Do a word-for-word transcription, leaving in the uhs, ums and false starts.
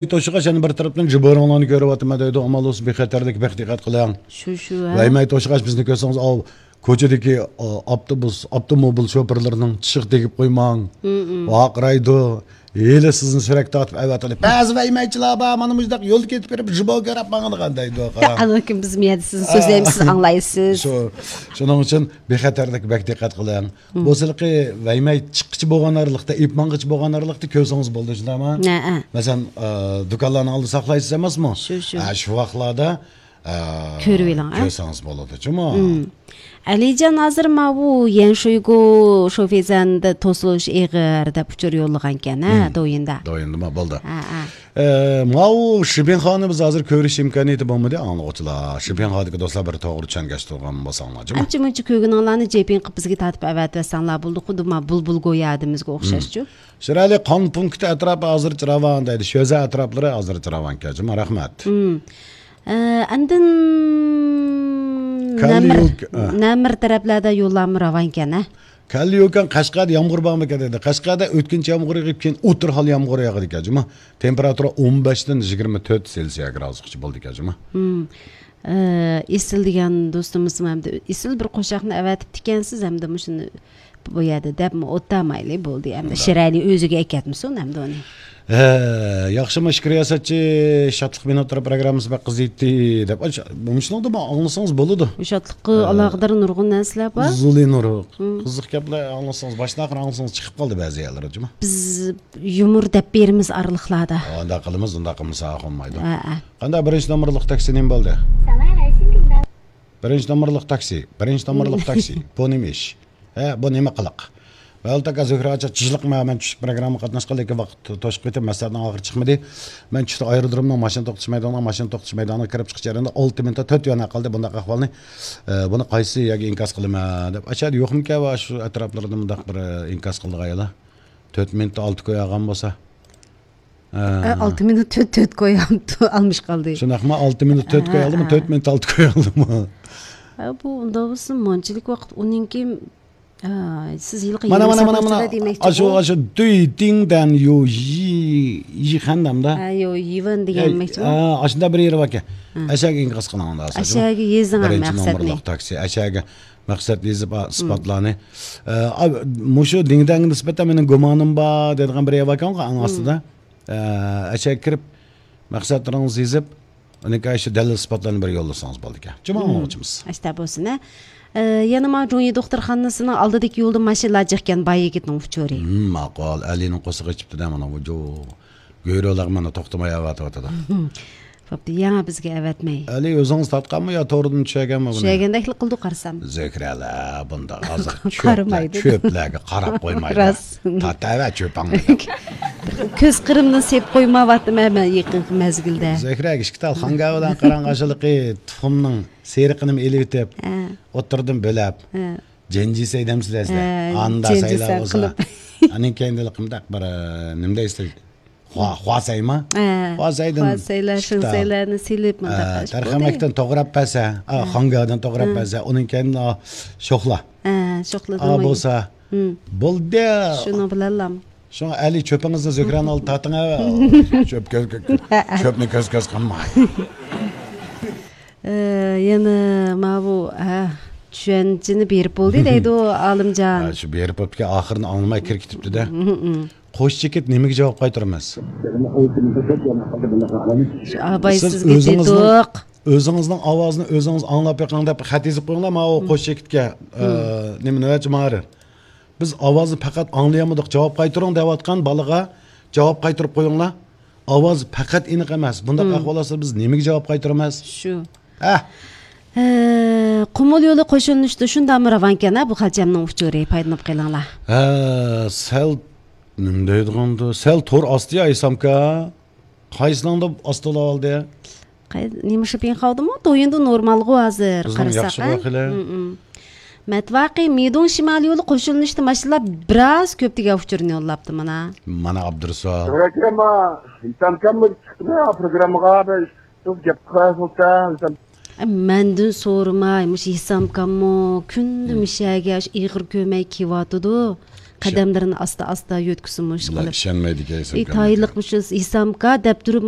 توشۇغاچ يەنە بىر تەرەپتىن جىبورۇڭلارنى كۆرۈۋاتىمەن دەيدۇ، ئامال بولسا بىخەتەرلىك بەك دىققەت قىلىڭ. شۇ، شۇ، ھە. ۋەيمەي توشۇغاچ بىزنى كۆرسىڭىز، ئاۋۇ كوچىدىكى، ئا، ئاپتوبۇس، ئاپتوموبىل شوپۇرلىرىنىڭ چىشىغا تېگىپ قويماڭ. ۋارقىرايدۇ. ھېلى سىزنى سۈرەك تارتىپ ئەۋەتىلىپ، بەزى ۋەيمەيچىلەر بار، مانا مۇشۇنداق يولدا كېتىپ بېرىپ، جىبو كۆرۈپ ماڭىدىغان دەيدۇ، قاراڭ. ئانا كۈن بىز مۇ يەردە سىزنى سۆزلەيمىز، سىز ئاڭلايسىز. شۇ، شۇنىڭ ئۈچۈن بىخەتەرلىك بەك دىققەت قىلىڭ. بولسىلىقى ۋەيمەي چىققىچە بولغان ئارىلىقتا، ئېلىپ ماڭغىچە بولغان ئارىلىقتا كۆرسىڭىز بولىدۇ، شۇنداقمۇ؟ ھە، ھە. مەسىلەن، ئە، دۇكانلارنىڭ ئالدىدا ساقلايسىز ئەمەسمۇ؟ شۇ، شۇ. ھە، شۇ ۋاقىتلاردا، ئە، كۆرۈۋېلىڭ، ھە؟ كۆرسىڭىز بولىدۇ، جۇمۇ. ئەلىجان ھازىر ماۋۇ يەنشۇيگو شوفېزەندە توسۇلۇش ئېغىر دەپ ئۇچۇر يوللىغانكەن، ھە، دويىندا. دويىندىما بولدى. ھە، ھە. ئە، ماۋۇ شىبىنخانى بىز ھازىر كۆرۈش ئىمكانىيىتى بولمىدى، ئاڭلىغۇچىلار. شىبىنخادىكى دوستلار بىر توغرا چۈشەنگەچ تۇرغان بولساڭلار، جۇمۇ. ئانچە مۇنچە كۆرگىنىڭلارنى جېپىڭ قىلىپ بىزگە تارتىپ ئەۋەتىۋەتسەڭلار بولدى، خۇددى ما بۇلبۇل گويادىمىزگە ئوخشاشچۇ. شىرئەلى قان پونكىتى ئەتراپى ھازىرچە راۋان دەيدۇ. شۆزە ئەتراپلىرى ھازىرچە راۋانكەن، جۇمۇ. رەھمەت. ئە، ئاندىن نەمىر، كاليۇك، ئە. نەمىر تەرەپلەردە يوللارمۇ راۋانكەن، ھە؟ كاليۇكەن قەشقەردە يامغۇر بارمىكەن دېدى. قەشقەردە ئۆتكۈنچى يامغۇر يېغىپ، كېيىن ئوتتۇرا ھال يامغۇر ياغىدىكەن، جۇمۇ. تېمپېراتۇرا ئون بەشتىن يىگىرمە تۆت سېلسىيە گرادۇسقىچە بولىدىكەن، جۇمۇ. ئە، ئېسىل دېگەن دوستىمىزمۇ ئەمدى ئېسىل بىر قوشاقنى ئەۋەتىپتىكەنسىز، ئەمدى مۇشۇنى بۇ يەردە دەپمۇ ئوتتامايلى بولدى، ئەمدى شىرئەلى ئۆزىگە ئەكەتمىسۇن ئەمدى ئۇنى. ھە، ياخشىمۇ ئىككى رىياسەتچى، شادلىق مىنۇتلىرى پروگراممىسى بەك قىزىيتتى دەپ، مۇشۇنىڭدا ئاڭلىسىڭىز بولىدۇ. شادلىققا ئالاقىدار نۇرغۇن نەرسىلەر بار. زۇلى نۇر. قىزىق گەپلەر ئاڭلىسىڭىز، باشتىن ئاخىر ئاڭلىسىڭىز چىقىپ قالدى بەزى يەرلەر، جۇمۇ. بىز يۇمۇر دەپ بېرىمىز ئارىلىقلاردا. ئۇنداق قىلىمىز، ئۇنداق قىلمىسا بولمايدۇ. ھە، ھە. قانداق، بىرىنچى نومۇرلۇق تاكسى نېمە بولدى؟ بىرىنچى نومۇرلۇق تاكسى، بىرىنچى نومۇرلۇق تاكسى. بۇ نېمە ئىش؟ ھە، بۇ نېمە قىلىق؟ ۋەلتاكا زۆھرە ئاچا، چىشلىق مەن، مەن چۈشلۈك پروگرامما قاتناشقىلى، لېكىن ۋاقىت توشۇپ كېتىپ، مەسلىھەتنىڭ ئاخىرى چىقمىدى. مەن چۈشتە ئايرودرومنىڭ ماشىنا توختىتىش مەيدانىغا، ماشىنا توختىتىش مەيدانىغا كىرىپ چىقىش جەريانىدا ئالتە مىنۇت تۆت يۈەن قالدى. بۇنداق ئەھۋالنى، ئە، بۇنى قايسى يەرگە ئىنكاس قىلىمەن دەپ، ئاشۇ يەردە يوقمىكەن ۋە شۇ ئەتراپلىرىدا مۇنداق بىر ئىنكاس قىلىدىغان يەرلەر؟ تۆت مىنۇت ئالتە كوي ئالغان بولسا. ئە، ئالتە مىنۇت تۆت، تۆت كوي ئالدى، ئالمىش قالدى. شۇنداقمۇ؟ ئالتە مىنۇت تۆت كوي ئالدىمۇ، تۆت مىنۇت ئالتە كوي ئالدىمۇ؟ ئە، بۇ ئۇنداق بولسا مانچىلىك ۋاقىت ئۇنىڭكى، ئە، سىز ھېلىقى مانا، مانا، مانا، مانا. دېمەكچى ئاشۇ، ئاشۇ دۈي تىڭ دەن يو يى، يى خەندەم دا. ھە، يو يىۋېن دېگەن دېمەكچىمۇ؟ ئە، ئاشۇنداق بىر يېرى باركەن. ئەشەگە ئىنكاس قىلىڭ ئۇنداق بولسا. ئەشەگە يېزىڭ مەقسەتنى. بىرىنچى نومۇرلۇق تاكسى. ئەشەگە مەقسەت يېزىپ، ئا، ئىسپاتلارنى. ئە، ئا، مۇشۇ دىڭدەڭگە نىسبەتەن مېنىڭ گۇمانىم بار دەيدىغان بىر يەر باركەن ئەڭ ئاستىدا. ئە، ئەشەگە كىرىپ، مەقسەتلىرىڭىزنى يېزىپ، ئۇنىڭ كەينىدە شۇ دەلىل ئىسپاتلارنى بىر يوللىسىڭىز بولىدىكەن. جۇمۇ ئاڭلىغۇچىمىز. ئاشتا بولسۇن، ھە. ئە، يەنە ما جۇڭيى دوختۇرخانىسىنىڭ ئالدىدىكى يولدا ماشىنىلار جىقكەن، باي يىگىتنىڭ ئۇچۇرى. ھىم، ماقۇل. ئەلىنىڭ قورسىقى ئېچىپتۇ-دە، مانا بۇ جو-، گۆرۈلەر مانا توختىماي ئەۋەتىۋاتىدۇ. بوپتۇ، يەنە بىزگە ئەۋەتمەي. ئەلى ئۆزىڭىز تارتقانمۇ يا توردىن چۈشۈرگەنمۇ بۇنى؟ چۈشۈرگەندەكلا قىلدۇق قارىسام. زۆھرەلەر بۇنداق ھازىر چۆپلەر، قارىمايدۇ. چۆپلەرگە قاراپ قويمايدۇ. راست. تارتىۋەر چۆپۈڭنى. كۆز قىرىمدىن سېلىپ قويمايۋاتىمەن مەن يېقىنقى مەزگىلدە. زۆھرەگە ئىككى تال خانگاۋىدان قاراڭ، ئاشۇلىقى تۇخۇمنىڭ سېرىقىنىمۇ ئېلىۋېتىپ، ھە. ئوتتۇرىدىن بۆلەپ، ھە. جەنجىسەي دەمسىلەر سىلەر. ھە، ئاندا جەنجىسەي سايلاۋالسا. قىلىپ. ئانىڭ كەينىدە قىمداق بىر، ئە، نېمە دەيسىلەر؟ خۇا-، خۇاسەيما؟ ھە. خۇاسەيدىن خۇاسەيلەر، شىنسەيلەرنى سېلىپ، ھە، مۇنداق قىلىپ تەرخەمەكتىن توغراپ بەرسە، ئا، ھە. خاڭگادىن توغراپ ھە. بەرسە، ئۇنىڭ كەينىدىن، ئا، شوخلا. ھە، شوخلا ئا، بولسا، بولدى. شۇنىڭ بىلەنلا. شۇڭا ئەلى چۆپىڭىزنى زۆھرەنىڭ ئالدىدا تارتىڭ، ھە. چۆپ كۆز، كۆ-، چۆپنى كۆز، كۆز قىلماي. ئە، يەنە ماۋۇ، ھە، چۈشەنچىنى بېرىپ بولدى دەيدۇ ئالىمجان. ھە، شۇ بېرىپ بوپتىكەن، ئاخىرىنى ئاڭلىماي كىرىپ كېتىپتۇ-دە. قوش چېكىت نېمىگە جاۋاب قايتۇرىمىز؟ شۇ ئاباي سىز سىزگە ئۆزىڭىزنىڭ، دېدۇق. ئۆزىڭىزنىڭ ئاۋازىنى ئۆزىڭىز ئاڭلاپ بېقىڭ دەپ خەت يېزىپ قويۇڭلار، ماۋۇ قوش چېكىتكە، ئە، نېمە، نۆۋەتچى ماھىر. بىز ئاۋازنى پەقەت ئاڭلىيالمىدۇق، جاۋاب قايتۇرۇڭ دەۋاتقان بالىغا جاۋاب قايتۇرۇپ قويۇڭلار. ئاۋاز پەقەت ئېنىق ئەمەس. بۇنداق ئەھۋال بولسا بىز نېمىگە جاۋاب قايتۇرىمىز؟ شۇ. ھە. ھە، قۇمۇل يولى قوشۇلۇنۇشىدا شۇنداقمۇ راۋانكەن، ھە، بۇ خەلچەمنىڭ ئۇچۇرى، پايدىلىنىپ قېلىڭلار. ھە، سەل، نېمە دەيدىغاندۇ، سەل تور ئاستى يا ئېيتسامكا؟ قايسىنىڭدا ئاستىلاۋالدى؟ قاي-، نېمە شىپىڭ قالدىمۇ؟ دويىندا نورمالغۇ ھازىر، بىزنىڭ قارىساق، ياخشىغۇ ھە؟ خېلى. مم، مم. مەتۋاقى مىدۇڭ شىمالىي يولى قوشۇلۇنۇشتا ماشىنىلار بىراز كۆپ دېگەن ئۇچۇرنى يوللاپتۇ مانا. مانا ئابدۇرۇسۇل. ئاكا، ما، ھېسامكاممۇ چىقتىمۇ پروگراممىغا؟ بىر سۆز گەپ قىلسا، ھېسام. ئە، مەندىن سورىماي، مۇشۇ ھېسامكاممۇ كۈندە مم. مۇشۇ يەرگە ئېغىر كۆرمەي كېلىۋاتىدۇ. قەدەملىرىنى ئاستا ئاستا يۆتكىسىمۇ ئىشقىلىپ، ئىشەنمەيدىكەن ھېسامكا. تايىنلىقمۇشۇ ھېسامكا دەپ تۇرۇپ،